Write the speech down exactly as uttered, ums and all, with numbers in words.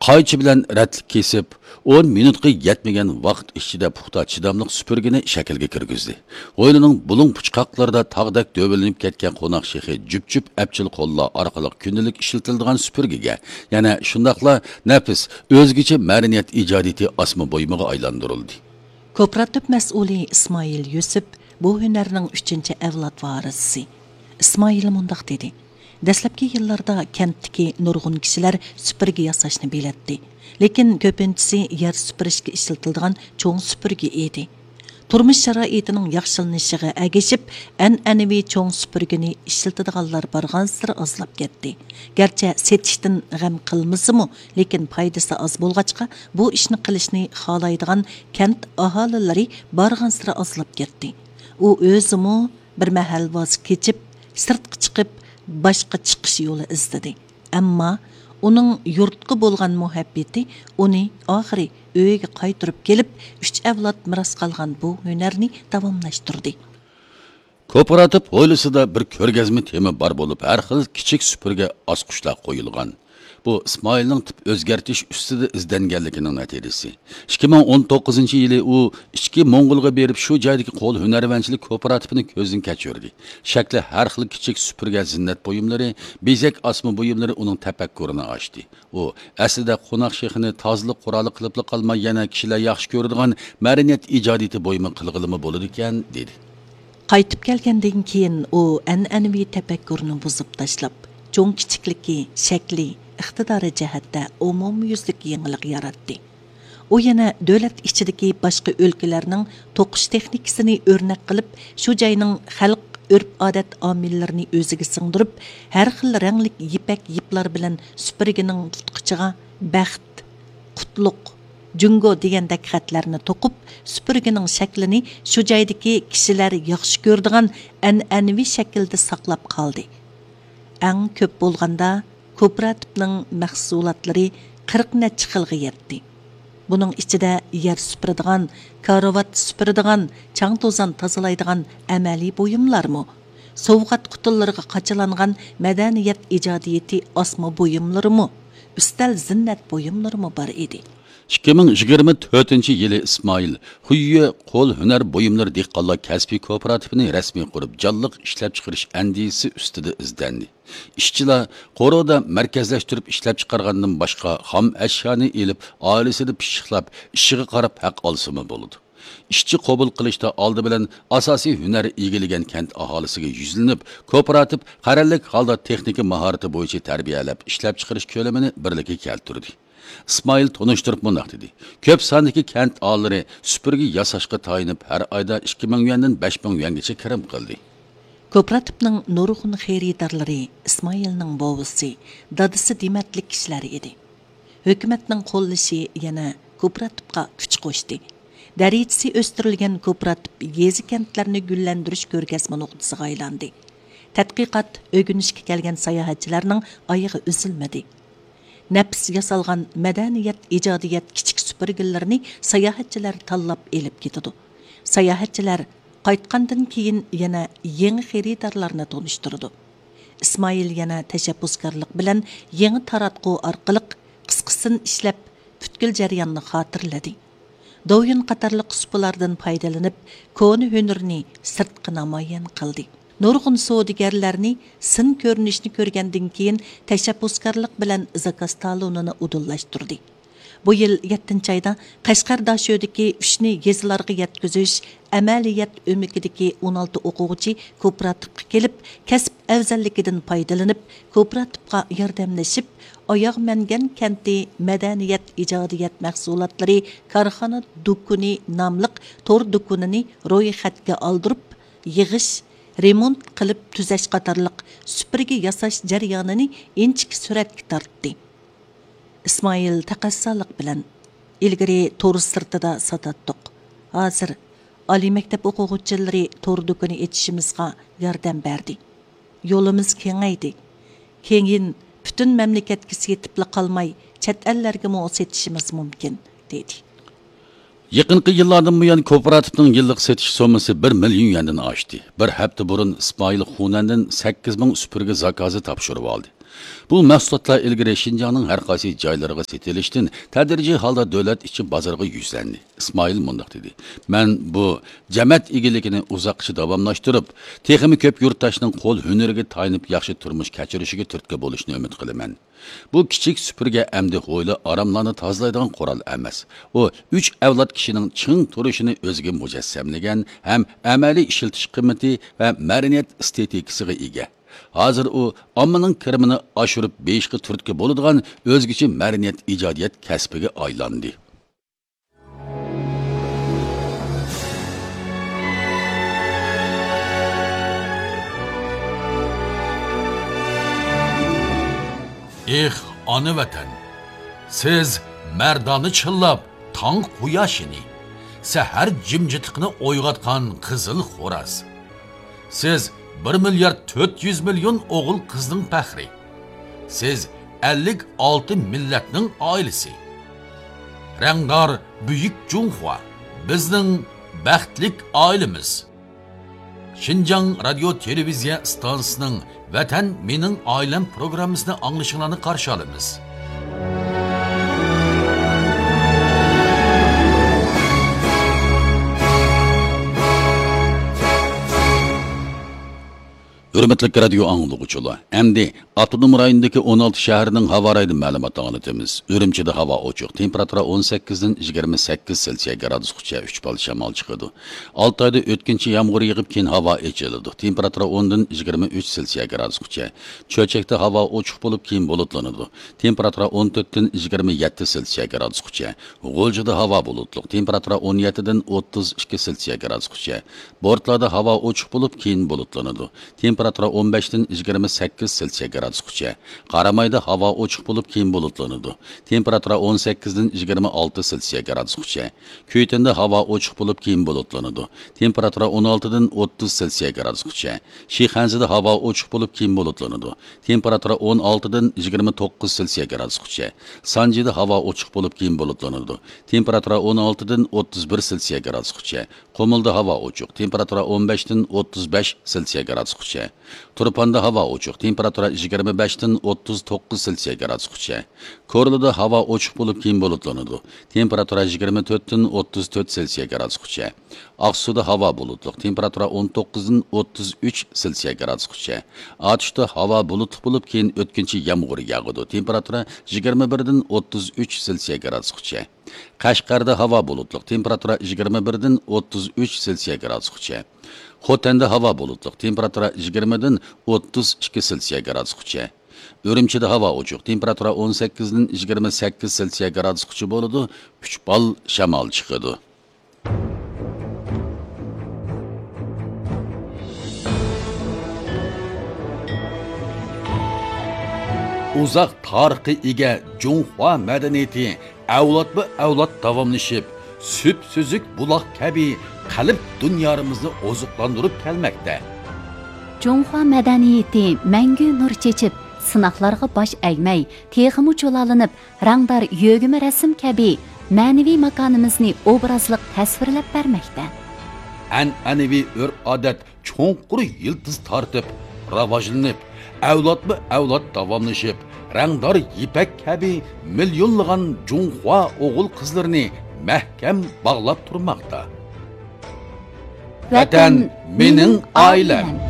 قايچى بىلەن رەتلىك كېسىپ، ئون مىنۇتقا يەتمىگەن ۋاقىت ئىچىدە پۇختا، چىداملىق سۈپۈرگىنى شەكىلگە كىرگۈزدى. ھويلىنىڭ بۇلۇڭ پۇچقاقلىرىدا تاغدەك دۆۋىلىنىپ كەتكەن قوناق شېخى جۈپ-جۈپ ئەپچىل قوللار ئارقىلىق كۈندىلىك ئىشلىتىلىدىغان سۈپۈرگىگە، يەنە شۇنداقلا نەپىس، ئۆزگىچە مەدەنىيەت ئىجادىيىتى ئاسما بۇيۇمىغا ئايلاندۇرۇلدى. كوپىراتىپ مەسئۇلى ئىسمائىل يۈسۈپ بۇ ھۈنەرنىڭ ئۈچىنچى ئەۋلاد ۋارىسى. ئىسمائىل مۇنداق دېدى: دەسلەپكى يىللاردا كەنتتىكى نۇرغۇن كىشىلەر سۈپۈرگە ياساشنى بىلەتتى، لېكىن كۆپىنچىسى يەر سۈپۈرۈشكە ئىشلىتىلىدىغان چوڭ سۈپۈرگە ئىدى. تۇرمۇش شارائىتىنىڭ ياخشىلىنىشىغا ئەگىشىپ، ئەنئەنىۋى چوڭ سۈپۈرگىنى ئىشلىتىدىغانلار بارغانسېرى ئازلاپ كەتتى. گەرچە سېتىشتىن غەم قىلمىسىمۇ، لېكىن پايدىسى ئاز بولغاچقا، بۇ ئىشنى قىلىشنى خالايدىغان كەنت ئاھالىلىرى بارغانسېرى ئازلاپ كەتتى. ئۇ ئۆزىمۇ بىر مەھەل ۋاز كېچىپ، سىرتقا چىقىپ، باشقا چىقىش يولى ئىزدىدى. ئەمما ئۇنىڭ يۇرتقا بولغان مۇھەببىتى ئۇنى ئاخىرى ئۆيىگە قايتۇرۇپ كېلىپ، ئۈچ ئەۋلاد مىراس قالغان بۇ ھۈنەرنى داۋاملاشتۇردى. كوپىراتىپ ھويلىسىدا بىر كۆرگەزمە تېما بار بولۇپ، ھەر خىل كىچىك سۈپۈرگە ئاسقۇچلار قويۇلغان. بۇ ئىسمائىلنىڭ تىپ ئۆزگەرتىش ئۈستىدە ئىزدەنگەنلىكىنىڭ نەتىجىسى. ئىككى مىڭ ئون توققۇزىنچى يىلى ئۇ ئىچكى موڭغۇلغا بېرىپ، شۇ جايدىكى قول ھۈنەرۋەنچىلىك كوپىراتىپىنى كۆزدىن كەچۈردى. شەكلى ھەر خىل كىچىك سۈپۈرگە زىننەت بۇيۇملىرى، بېزەك ئاسما بۇيۇملىرى ئۇنىڭ تەپەككۇرىنى ئاچتى. ئۇ ئەسلىدە قوناق شېخىنى تازىلىق قورالى قىلىپلا قالماي، يەنە كىشىلەر ياخشى كۆرىدىغان مەدەنىيەت ئىجادىيىتى بۇيۇمى قىلغىلىمۇ بولىدىكەن، دېدى. قايتىپ كەلگەندىن كېيىن ئۇ ئەنئەنىۋى تەپەككۇرنى بۇزۇپ تاشلاپ، چوڭ-كىچىكلىكى، شەكلى، ئىقتىدارى جەھەتتە ئومۇميۈزلۈك يېڭىلىق ياراتتى. ئۇ يەنە دۆلەت ئىچىدىكى باشقا ئۆلكىلەرنىڭ توقۇش تېخنىكىسىنى ئۆرنەك قىلىپ، شۇ جاينىڭ خەلق ئۆرپ-ئادەت ئامىللىرىنى ئۆزىگە سىڭدۈرۈپ، ھەر خىل رەڭلىك يىپەك يىپلار بىلەن سۈپۈرگىنىڭ تۇتقۇچىغا بەخت، قۇتلۇق، جۇڭگو دېگەندەك خەتلەرنى توقۇپ، سۈپۈرگىنىڭ شەكلىنى شۇ جايدىكى كىشىلەر ياخشى كۆرىدىغان ئەنئەنىۋى شەكىلدە ساقلاپ قالدى. ئەڭ كۆپ بولغاندا كوپىراتىپنىڭ مەھسۇلاتلىرى قىرىق نەچچە خىلغا يەتتى. بۇنىڭ ئىچىدە يەر سۈپۈرىدىغان، كارىۋات سۈپۈرىدىغان، چاڭ-توزان تازىلايدىغان ئەمەلىي بۇيۇملارمۇ، سوۋغات قۇتىلىرىغا قاچىلانغان مەدەنىيەت ئىجادىيىتى ئاسما بۇيۇملىرىمۇ، ئۈستەل زىننەت بۇيۇملىرىمۇ بار ئىدى. ئىككى مىڭ يىگىرمە تۆتىنچى يىلى ئىسمائىل خۇييې قول ھۈنەر بۇيۇملىرى دېھقانلار كەسپىي كوپىراتىپىنى رەسمىي قۇرۇپ، جانلىق ئىشلەپچىقىرىش ئەندىزىسى ئۈستىدە ئىزدەندى. ئىشچىلار قورۇدا مەركەزلەشتۈرۈپ ئىشلەپچىقارغاندىن باشقا، خام ئەشيانى ئېلىپ، ئائىلىسىدە پىششىقلاپ، ئىشىغا قاراپ ھەق ئالسىمۇ بولىدۇ. ئىشچى قوبۇل قىلىشتا ئالدى بىلەن ئاساسىي ھۈنەر ئىگىلىگەن كەنت ئاھالىسىگە يۈزلىنىپ، كوپىراتىپ قەرەللىك ھالدا تېخنىكا ماھارىتى بويىچە تەربىيەلەپ، ئىشلەپچىقىرىش كۆلىمىنى بىرلىككە كەلتۈردى. ئىسمائىل تونۇشتۇرۇپ مۇنداق دېدى: كۆپ ساندىكى كەنت ئاھالىلىرى سۈپۈرگە ياساشقا تايىنىپ، ھەر ئايدا ئىككى مىڭ يۈەندىن بەش مىڭ يۈەنگىچە كىرىم قىلدى. كوپىراتىپنىڭ نۇرغۇن خېرىدارلىرى ئىسمائىلنىڭ بوۋىسى، دادىسى دېمەتلىك كىشىلەر ئىدى. ھۆكۈمەتنىڭ قوللىشى يەنە كوپىراتىپقا كۈچ قوشتى. دەرىجىسى ئۆستۈرۈلگەن كوپىراتىپ يېزا-كەنتلەرنى گۈللەندۈرۈش كۆرگەزمە نۇقتىسىغا ئايلاندى. تەتقىقات، ئۆگىنىشكە كەلگەن ساياھەتچىلەرنىڭ ئايىغى ئۈزۈلمىدى. نەپىس ياسالغان مەدەنىيەت، ئىجادىيەت كىچىك سۈپۈرگىلىرىنى ساياھەتچىلەر تاللاپ ئېلىپ كېتىدۇ. ساياھەتچىلەر قايتقاندىن كېيىن يەنە يېڭى خېرىدارلارنى تونۇشتۇرىدۇ. ئىسمائىل يەنە تەشەببۇسكارلىق بىلەن يېڭى تاراتقۇ ئارقىلىق قىسقىسىنى ئىشلەپ، پۈتكۈل جەرياننى خاتىرىلىدى. دوۋيىن قاتارلىق ئۇسبىلاردىن پايدىلىنىپ، كونا ھۈنىرىنى سىرتقا نامايان قىلدى. نۇرغۇن سودىگەرلەرنى سىن كۆرۈنۈشنى كۆرگەندىن كېيىن، تەشەببۇسكارلىق بىلەن زاكاز تالونىنى ئۇدۇللاشتۇردى. بۇ يىل يەتتىنچى ئايدا قەشقەر داشۆدىكى ئۈچنى يېزىلارغا يەتكۈزۈش ئەمەلىيەت ئۆمىكىدىكى ئون ئالتە ئوقۇغۇچى كوپىراتىپقا كېلىپ، كەسىپ ئەۋزەللىكىدىن پايدىلىنىپ، كوپىراتىپقا ياردەملىشىپ، ئاياغ مەنگەن كەنتى مەدەنىيەت ئىجادىيەت مەھسۇلاتلىرى كارخانا دۇكىنى ناملىق تور دۇكىنىنى رويخەتكە ئالدۇرۇپ، يىغىش، رېمونت قىلىپ تۈزەش قاتارلىق سۈپۈرگە ياساش جەريانىنى ئىنچىكە سۈرەتكە تارتتى. ئىسمائىل تەقەززالىق بىلەن: ئىلگىرى تور سىرتىدا ساتاتتۇق. ھازىر ئالىي مەكتەپ ئوقۇغۇچىلىرى تور دۇكىنى ئېچىشىمىزغا ياردەم بەردى. يولىمىز كېڭەيدى. كېيىن پۈتۈن مەملىكەتكە سېتىپلا قالماي، چەت ئەللەرگىمۇ سېتىشىمىز مۇمكىن، دېدى. يېقىنقى يىللاردىن بۇيان كوپىراتىپنىڭ يىللىق سېتىش سوممىسى بىر مىليون يۈەندىن ئاشتى. بىر ھەپتە بۇرۇن ئىسمائىل خۇنەندىن سەككىز مىڭ سۈپۈرگە زاكازى تاپشۇرۇۋالدى. بۇ مەھسۇلاتلار ئىلگىرى شىنجاڭنىڭ ھەر قايسى جايلىرىغا سېتىلىشتىن تەدرىجىي ھالدا دۆلەت ئىچى بازىرىغا يۈزلەندى. ئىسمائىل مۇنداق دېدى، مەن بۇ جەمەت ئىگىلىكىنى ئۇزاققىچە داۋاملاشتۇرۇپ، تېخىمۇ كۆپ يۇرتداشنىڭ قول ھۈنىرىگە تايىنىپ ياخشى تۇرمۇش كەچۈرۈشىگە تۈرتكە بولۇشىنى ئۈمىد قىلىمەن. بۇ كىچىك سۈپۈرگە ئەمدى ھويلا ئاراملارنى تازىلايدىغان قورال ئەمەس. ئۇ ئۈچ ئەۋلاد كىشىنىڭ چىڭ تۇرۇشىنى ئۆزىگە مۇجەسسەملىگەن ھەم ئەمەلىي ئىشلىتىش قىممىتى ۋە مەدەنىيەت ئېستېتىكىسىغا ئىگە. ھازىر ئۇ ئاممىنىڭ كىرىمىنى ئاشۇرۇپ بېيىشقا تۈرتكە بولىدىغان ئۆزگىچە مەدەنىيەت ئىجادىيەت كەسپىگە ئايلاندى. ئېھ، ئانا ۋەتەن! سىز مەردانە چىللاپ تاڭ قۇياشىنى، سەھەر جىمجىتلىقىنى ئويغاتقان قىزىل خوراز. سىز بىر مىليارد تۆت يۈز مىليون ئوغۇل قىزنىڭ پەخرى. سىز ئەللىك ئالتە مىللەتنىڭ ئائىلىسى. رەڭدار بۈيۈك جۇڭخۇا، بىزنىڭ بەختلىك ئائىلىمىز. شىنجاڭ رادىيو تېلېۋىزىيە ئىستانسىسىنىڭ ۋەتەن مېنىڭ ئائىلەم پروگراممىسىنى ئاڭلىشىڭلارنى قارشى ئالىمىز. ھۆرمەتلىك رادىيو ئاڭلىغۇچىلار، ئەمدى ئاپتونوم رايوندىكى ئون ئالتە شەھەرنىڭ ھاۋا رايىدىن مەلۇمات ئاڭلىتىمىز. ئۈرۈمچىدە ھاۋا ئوچۇق، تېمپېراتۇرا ئون سەككىزدىن يىگىرمە سەككىز سېلسىيە گرادۇسقىچە، ئۈچ بال شامال چىقىدۇ. ئالتايدا ئۆتكۈنچى يامغۇر يېغىپ، كېيىن ھاۋا ئېچىلىدۇ. تېمپېراتۇرا ئوندىن يىگىرمە ئۈچ سېلسىيە گرادۇسقىچە. چۆچەكتە ھاۋا ئوچۇق بولۇپ، كېيىن بۇلۇتلىنىدۇ. تېمپېراتۇرا ئون تۆتتىن يىگىرمە يەتتە سېلسىيە گرادۇسقىچە. غۇلجىدا ھاۋا بۇلۇتلۇق. تېمپېراتۇرا ئون يەتتىدىن ئوتتۇز ئىككى سېلسىيە گرادۇسقىچە. بورتلاردا ھاۋا ئوچۇق بولۇپ، كېيىن بۇلۇتلىنىدۇ. تېمپېراتۇرا ئون بەشتىن يىگىرمە سەككىز سېلسىيە گرادۇسقىچە. قارامايدا ھاۋا ئوچۇق بولۇپ، كېيىن بۇلۇتلىنىدۇ. تېمپېراتۇرا ئون سەككىزدىن يىگىرمە ئالتە سېلسىيە گرادۇسقىچە. كۈيتەندە ھاۋا ئوچۇق بولۇپ، كېيىن بۇلۇتلىنىدۇ. تېمپېراتۇرا ئون ئالتىدىن ئوتتۇز سېلسىيە گرادۇسقىچە. شىخەنزىدە ھاۋا ئوچۇق بولۇپ، كېيىن بۇلۇتلىنىدۇ. تېمپېراتۇرا ئون ئالتىدىن يىگىرمە توققۇز سېلسىيە گرادۇسقىچە. سانجىدا ھاۋا ئوچۇق بولۇپ، كېيىن بۇلۇتلىنىدۇ. تېمپېراتۇرا ئون ئالتىدىن ئوتتۇز بىر سېلسىيە گرادۇسقىچە. قۇمۇلدا ھاۋا ئوچۇق، تېمپېراتۇرا ئون بەشتىن ئوتتۇز بەش سېلسىيە گرادۇسقىچە. تۇرپاندا ھاۋا ئوچۇق، تېمپېراتۇرا يىگىرمە بەشتىن ئوتتۇز توققۇز سېلسىيە گرادۇسقىچە. كورلىدا ھاۋا ئوچۇق بولۇپ، كېيىن بۇلۇتلىنىدۇ. تېمپېراتۇرا يىگىرمە تۆتتىن ئوتتۇز تۆت سېلسىيە گرادۇسقىچە. ئاقسۇدا ھاۋا بۇلۇتلۇق، تېمپېراتۇرا ئون توققۇزدىن ئوتتۇز ئۈچ سېلسىيە گرادۇسقىچە. ئاتۇشتا ھاۋا بۇلۇتلۇق بولۇپ، كېيىن ئۆتكۈنچى يامغۇر ياغىدۇ، تېمپېراتۇرا يىگىرمە بىردىن ئوتتۇز ئۈچ سېلسىيە گرادۇسقىچە. قەشقەردە ھاۋا بۇلۇتلۇق، تېمپېراتۇرا يىگىرمە بىردىن ئوتتۇز ئۈچ سېلسىيە گرادۇسقىچە. خوتەندە ھاۋا بۇلۇتلۇق، تېمپېراتۇرا يىگىرمىدىن ئوتتۇز ئىككى سېلسىيە گرادۇسقىچە. ئۈرۈمچىدە ھاۋا ئوچۇق، تېمپېراتۇرا ئون سەككىزدىن يىگىرمە سەككىز سېلسىيە گرادۇسقىچە بولىدۇ، ئۈچ بال شامال چىقىدۇ. ئۇزاق تارىخقا ئىگە جۇڭخۇا مەدەنىيىتى ئەۋلادمۇ ئەۋلاد داۋاملىشىپ، سۈپسۈزۈك بۇلاق كەبى قەلب دۇنيارىمىزنى ئوزۇقلاندۇرۇپ كەلمەكتە. جۇڭخۇا مەدەنىيىتى مەڭگۈ نۇر چېچىپ، سىناقلارغا باش ئەگمەي، تېخىمۇ جۇلالىنىپ، رەڭدار يۆگىمە رەسىم كەبى مەنىۋى ماكانىمىزنى ئوبرازلىق تەسۋىرلەپ بەرمەكتە. ئەنئەنىۋى ئۆرپ-ئادەت چوڭقۇر يىلتىز تارتىپ، راۋاجلىنىپ، ئەۋلادمۇ ئەۋلاد داۋاملىشىپ، رەڭدار يىپەك كەبى مىليونلىغان جۇڭخۇا ئوغۇل-قىزلىرىنى مەھكەم باغلاپ تۇرماقتا. ۋەتەن مېنىڭ ئائىلەم.